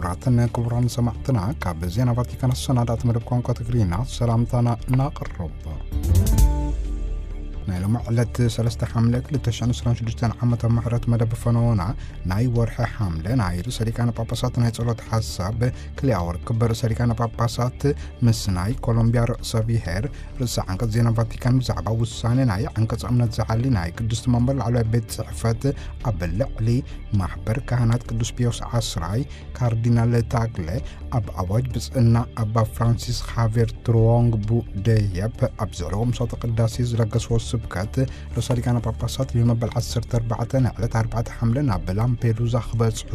ክቡራትን ክቡራን ሰማዕትና፣ ካብ ዜና ቫቲካን ኣሰናዳእቲ መደብ ቋንቋ ትግርኛ ሰላምታና እናቕርብ። ናይ ሎሚ ዕለት ሰለስተ ሓምለ ክልተ ሽሕን ዕስራን ሽዱሽተን ዓመተ ምሕረት መደብ ፈነወና፣ ናይ ወርሒ ሓምለ ናይ ርእሰ ሊቃነ ጳጳሳት ናይ ጸሎት ሓሳብ ክልኤ ኣወር ክበር ርእሰ ሊቃነ ጳጳሳት ምስ ናይ ኮሎምቢያ ርእሰ ብሔር ርእሰ ዓንቀጽ ዜና ቫቲካን ብዛዕባ ውሳኔ ናይ ዓንቀጽ እምነት ዝሓሊ ናይ ቅድስቲ መንበር ላዕለዋይ ቤት ጽሕፈት ኣብ ልዕሊ ማሕበር ካህናት ቅዱስ ፒዮስ ዓስራይ ካርዲናል ታግለ ኣብ ኣዋጅ ብጽእና ኣባ ፍራንሲስ ኻቬር ትሮንግ ቡ ደየብ ኣብ ዝዕለዎ ምሳተ ቅዳሴ ዝለገስዎ ስብከት ርእሰ ሊቃነ ጳጳሳት ሊዮ መበል ዓሰርተ ኣርባዕተ ንዕለት ኣርባዕተ ሓምለ ናብ ላምፔዱዛ ክበጽሑ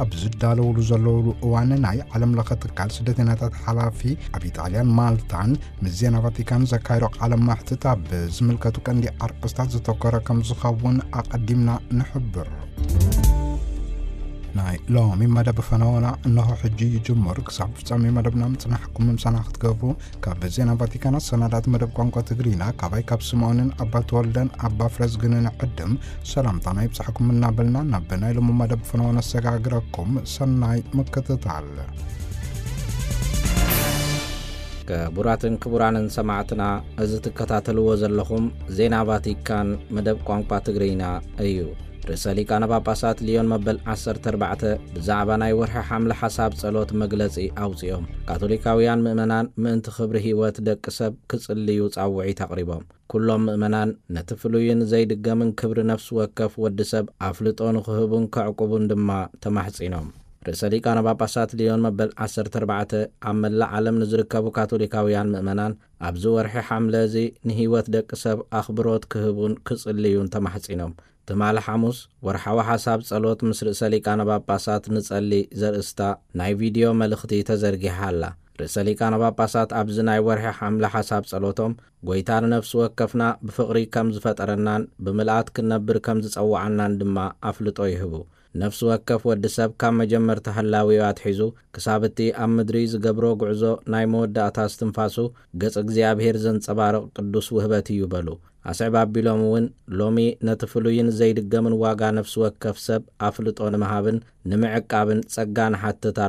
ኣብ ዝዳለውሉ ዘለውሉ እዋን ናይ ዓለም ለኸ ትካል ስደተኛታት ሓላፊ ኣብ ኢጣልያን ማልታን ምስ ዜና ቫቲካን ዘካየዶ ቃለ መሕትት ኣብ ዝምልከቱ ቀንዲ ኣርእስታት ዘተኮረ ከም ዝኸውን ኣቐዲምና ንሕብር። ናይ ሎሚ መደብ ፈነወና እነሆ ሕጂ ይጅምር። ክሳብ ፍጻሜ መደብና ምጽናሕኩም ምሳና ክትገብሩ ካብ ዜና ቫቲካን ኣሰናዳእቲ መደብ ቋንቋ ትግርኛ ካባይ ካብ ስምዖንን ኣባ ተወልደን ኣባ ፍረዝግንን ዕድም ሰላምታና ይብጻሕኩም እናበልና ናብ ናይ ሎሚ መደብ ፈነወ ነሰጋግረኩም። ሰናይ ምክትታል። ክቡራትን ክቡራንን ሰማዕትና፣ እዚ ትከታተልዎ ዘለኹም ዜና ቫቲካን መደብ ቋንቋ ትግርኛ እዩ። ርእሰ ሊቃነ ጳጳሳት ሊዮን መበል ዓሰርተ ኣርባዕተ ብዛዕባ ናይ ወርሒ ሓምለ ሓሳብ ጸሎት መግለጺ ኣውጺኦም። ካቶሊካውያን ምእመናን ምእንቲ ክብሪ ህይወት ደቂ ሰብ ክጽልዩ ጻውዒት ኣቕሪቦም። ኩሎም ምእመናን ነቲ ፍሉይን ዘይድገምን ክብሪ ነፍሲ ወከፍ ወዲ ሰብ ኣፍልጦ ንኽህቡን ከዕቁቡን ድማ ተማሕጺኖም። ርእሰ ሊቃነ ጳጳሳት ሊዮን መበል ዓሰርተ ኣርባዕተ ኣብ መላእ ዓለም ንዝርከቡ ካቶሊካውያን ምእመናን ኣብዚ ወርሒ ሓምለ እዚ ንህይወት ደቂ ሰብ ኣኽብሮት ክህቡን ክጽልዩን ተማሕጺኖም። ትማሊ ሓሙስ ወርሓዊ ሓሳብ ጸሎት ምስ ርእሰ ሊቃነ ጳጳሳት ንጸሊ ዘርእስታ ናይ ቪድዮ መልእኽቲ ተዘርጊሓ ኣላ። ርእሰ ሊቃነ ጳጳሳት ኣብዚ ናይ ወርሒ ሓምለ ሓሳብ ጸሎቶም፣ ጐይታ ንነፍሲ ወከፍና ብፍቕሪ ከም ዝፈጠረናን ብምልኣት ክንነብር ከም ዝጸውዓናን ድማ ኣፍልጦ ይህቡ። ነፍሲ ወከፍ ወዲ ሰብ ካብ መጀመርታ ህላዌኡ ኣትሒዙ ክሳብ እቲ ኣብ ምድሪ ዝገብሮ ጉዕዞ ናይ መወዳእታ እስትንፋሱ ገጽ እግዚኣብሔር ዘንጸባርቕ ቅዱስ ውህበት እዩ በሉ። ኣስዕብ ኣቢሎም እውን፣ ሎሚ ነቲ ፍሉይን ዘይድገምን ዋጋ ነፍሲ ወከፍ ሰብ ኣፍልጦ ንምሃብን ንምዕቃብን ጸጋ ንሓትት